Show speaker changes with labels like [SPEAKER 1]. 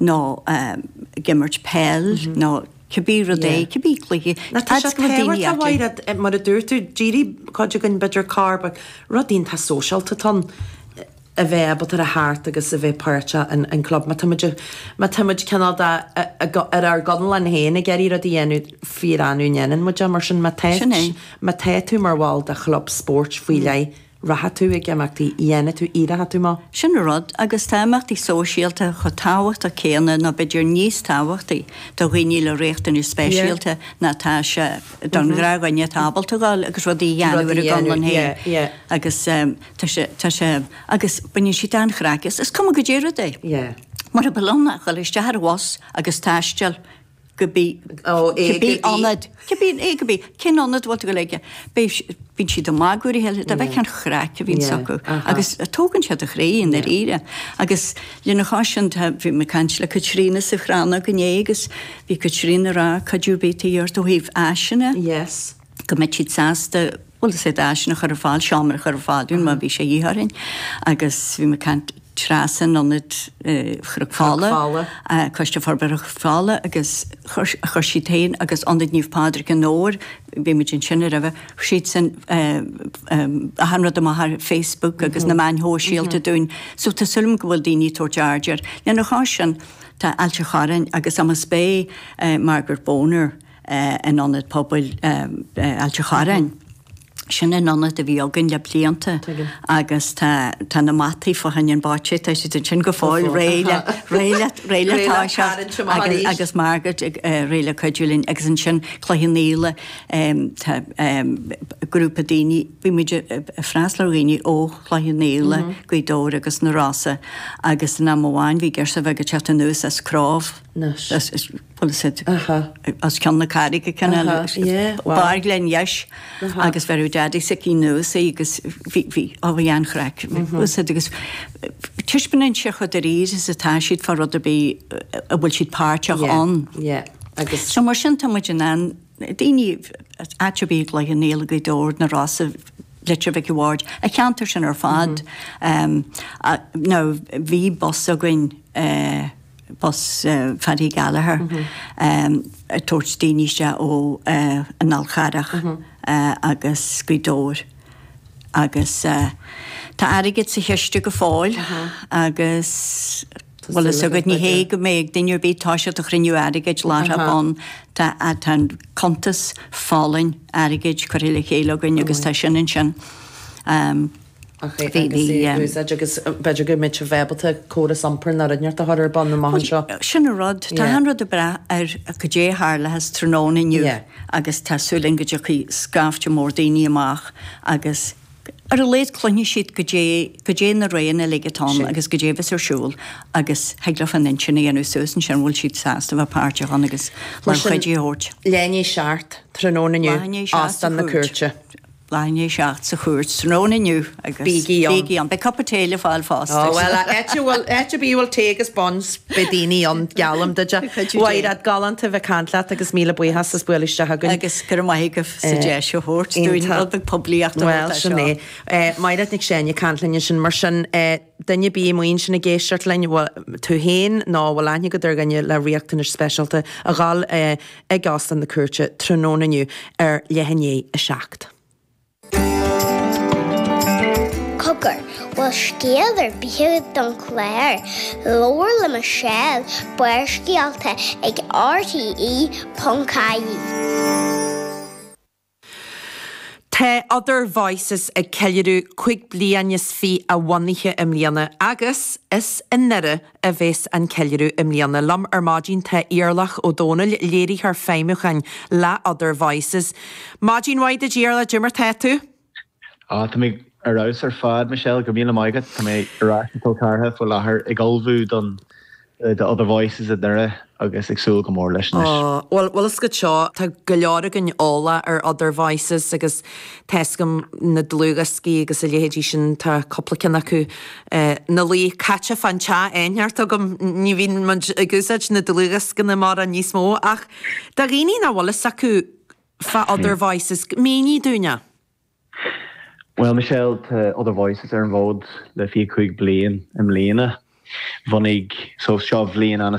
[SPEAKER 1] Nó ag imirt peil nó cibé rud é, cibé cluiche.
[SPEAKER 2] Nó tá sé tábhachtach, a Mhaighread, mar a dúirt tú, d'éirigh cuid againn b'fhéidir corr, but rud iontach sóisialta atá ann a bheith ábalta a theacht agus a bheith páirteach in in club. Má tá muid má tá muid cineál de ar ár gconlán féin ag iarraidh rud a dhéanamh fíor-annamh a ndéanann muid é mar sin má tá má tá tú mar bhall de chlub spóirt faoi leith Rachaidh tú ag imeachtaí, dhéanfaidh tú, éireoidh tú amach.
[SPEAKER 1] Sin an rud, agus tá imeachtaí sóisialta chomh tábhachtach céanna nó b'fhéidir níos tábhachtaí do dhaoine le riachtanais speisialta ná atá sé don ghnáthdhuine atá ábalta dhul agus rudaí a dhéanamh ar a gconlán féin. Agus tá sé, tá sé, agus baineann siad an-chraic as. Is cuma goidé rud é. Mura bhfuil ann ach dhul isteach ar bhus agus taisteal cibé, cibé ionad, cibé, A go B, cén ionad a bhfuil tú ag dul aige, beidh, bíonn siad ag magadh ar a chéile, dá bhfeicfeá an chraic a bhíonn acu agus tógann sé do chroí i ndáiríre. Agus lena chois sin, tá, bhí mé ag caint le Caitríona sa Chrannóg inné agus bhí Caitríona ag rá cuidiú ar bith atá de dhíth ort ó thaobh áiseanna, go mbeadh siad sásta, bhuel is iad áiseanna a chur ar fáil, seomra a chur ar fáil dúinn má bhí sé de dhíth orainn agus bhí mé ag caint, Treasa in Ionad Chnoc Fola, Coiste Forbartha Chnoc Fola agus chuir siad féin agus Ionad Naomh Pádraig i nDobhar, bhí muid ansin roimhe, chuir siadsan achan rud amach ar Facebook agus na meáin shóisialta dúinn. So tá súil agam go bhfuil daoine ag tabhairt aird air. Lena chois sin, tá Ailt an Chorráin agus amas beidh Margaret Boner in Ionad Pobail Ailt an Chorráin. Sin an ionad a bhí againn le blianta agus tá tá na mataí fá choinne an bocce, tá siad ansin go fóill réidh le réidh le réidh le toiseacht agus agus Margaret ag réidh le cuidiú linn agus ansin Cloich Cheann Fhaola tá grúpa daoine, bhí muid ag freastal ar dhaoine ó Chloich Cheann Fhaola, Gaoth Dobhair agus na Rosa agus in am amháin bhí girseach bheag ag teacht anuas as Cróibh. Bhuel is iad os cionn na carraige cineál barr Ghleann Dheis agus bheireadh Daddy s'aici anuas í agus bhí bhí ó bhí an-chraic is iad agus taispeánann sé chomh dáiríre is atá siad fá rud ar bith a bhfuil siad páirteach ann. So mar sin tá muid in ann daoine áit ar bith i gCloich Cheann Fhaola, Gaoth Dobhair, na Rosa, Leitir Mhic a' Bhaird, an cheantar sin ar fad. Now bhí bus againn bus Phaddy Gallagher ag tabhairt daoine isteach ó an Fhál Charrach agus Gaoth Dobhair agus tá airgead sa chiste go fóill agus bhfuil fhios agat ní hé go mbeidh duine ar bith toiseacht ag cruinniú airgid láithreach bonn tá tá an cuntas folláin airgid curtha le chéile againn agus tá sin ansin.
[SPEAKER 2] Ach é agus é a úsáid agus b'fhéidir go mbeidh sibh ábalta córas iompair nó rud inteacht a chur ar bun amach anseo.
[SPEAKER 1] Sin an rud. Tá achan rud ag brath ar goidé a tharlóchas tráthnóna inniu agus tá súil againn go dtiocfaidh scaifte mór daoine amach agus ar a laghad cluinfidh siad goidé, goidé na roghanna uilig atá ann agus goidé a bheas ar siúl agus thig leo an intinn a dhéanamh suas ansin an bhfuil siad sásta a bheith páirteach ann agus lánchuidiú a thabhairt.
[SPEAKER 2] Leath i ndiaidh a 7 tráthnóna inniu, Óstán na Cúirte.
[SPEAKER 1] Leath i ndiaidh a 7 sa chúirt tráthnóna inniu agus
[SPEAKER 2] Bígí ann.
[SPEAKER 1] bígí ann. Beidh cupa tae le fáil fosta.
[SPEAKER 2] Ó bhuel, áit a bhfuil, áit ar bith a bhfuil tae agus buns, beidh daoine ann, geallaim duit.
[SPEAKER 1] Cuidiú Dé.
[SPEAKER 2] Mhaighread, galánta a bheith ag caint leat agus míle buíochas as bualadh isteach chugainn.
[SPEAKER 1] Agus go raibh maith agaibh as an deis a thabhairt dúinn rud beag poiblíochta a
[SPEAKER 2] Bhuel,
[SPEAKER 1] thabhairt as
[SPEAKER 2] sin
[SPEAKER 1] seo.
[SPEAKER 2] é. Maighread Nic Seáin ag caint linn ansin. Mar sin, duine ar bith amuigh ansin ag éisteacht linn, bhfuil tú féin nó bhfuil aithne agat ar dhuine le riachtanais speisialta, a dhul ag Óstán na Cúirte tráthnóna inniu ar leath i ndiaidh a 7.
[SPEAKER 3] Cogar, bhfuil scéal ar bith agat don chlár? Labhair le Michelle, Barrscéalta ag RTE.ie.
[SPEAKER 2] Tá Other Voices ag ceiliúradh 25 bliain a bhunaithe i mbliana agus is i nDoire a bheas an ceiliúradh i mbliana. Liom ar maidin tá Iarlach Ó Dónaill, Léiritheoir Feidhmiúcháin le Other Voices. Maidin mhaith duit Iarlach, cad é mar tá tú?
[SPEAKER 4] Á, tá mé ar fheabhas ar fad, Michelle, go raibh míle maith agat. Tá mé ar ais i gCill Chartha faoi láthair ag ullmhú don do Other Voices i nDoire agus ag súil go mór leis anois.
[SPEAKER 2] Ó, bhuel, bhfuil fhios agat seo, tá go leor againn eolach ar Other Voices agus tá fhios agam na dlúthdhioscaí agus a leithéidí sin, tá cúpla ceann acu ina luí caite fán teach inteacht agam, ní bhíonn muid ag úsáid na dlúthdhioscanna mórán níos mó ach do dhaoine nach bhfuil fhios acu fá Other Voices, mínigh dúinn é.
[SPEAKER 4] Bhuel, Michelle, tá Other Voices ar an bhfód le 25 bliain i mbliana. Bhunaigh, so seo bhliain an.